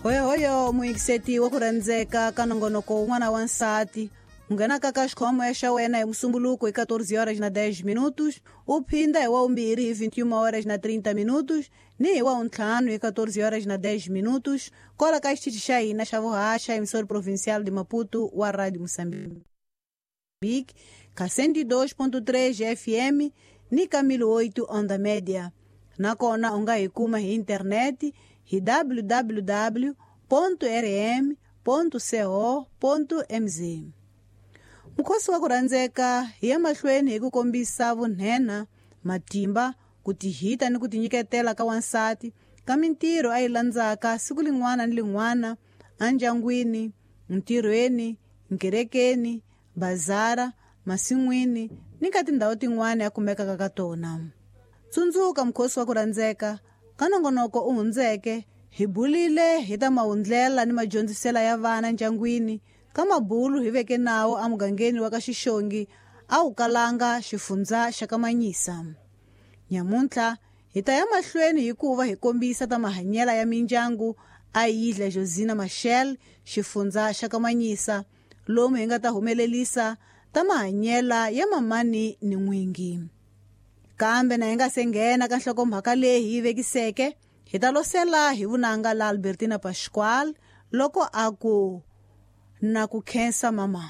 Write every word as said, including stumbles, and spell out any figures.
Hoyohoyo muyingiseti wa ku rhandzeka ka nongonoko wun'wana wa nsati u nghenaka ka xikhomo xa wena hi musumbuluko hi quatorze horas na dez minutos, u phinda hi wa vumbirhi hi vinte e uma horas na trinta minutos ni hi wa vuntlhanu hi quatorze horas na dez minutos kwala ka xitichi xa hina xa vuhaxa emissora provincial de Maputo wa Rádio Moçambique ka cento e dois ponto três F M ni ka mil oito onda média. Nakona u nga hi kuma hi internet hi w w w ponto r m ponto co ponto m z. Mukhosi wa ku rhandzeka hi ya mahlweni hi ku kombisa vunhena, matimba, ku tihita ni ku tinyiketela ka wansati ka mintirho a yi landzaka siku lin'wana ni lin'wana endyangwini, ntirhweni, nkerekeni, bazara, masin'wini ni ka tindhawu tin'wana a kumekaka ka tona. Tsundzuka mukhosi wa ku rhandzeka ka nongonoko u hundzeke hi bulile hi ta mahundlela ni madyondzisela ya vana ndyangwini ka mabulu hi veke nawo emugangeni wa ka Xixongi a wu kalanga xifundza xa ka Manyisa. Nyamuntlha hi ta ya mahlweni hikuva hi kombisa ta mahanyela ya mindyangu a Yidla Josina Machel xifundza xa ka Manyisa lomu hi nga ta humelelisa ta mahanyela ya mamani ni n'wingi. Kambe na hi nga se nghena ka nhlokomhaka leyi hi yi vekiseke hi ta losela hi vunanga la Albertina Pascual loko a ku na ku khensa mama.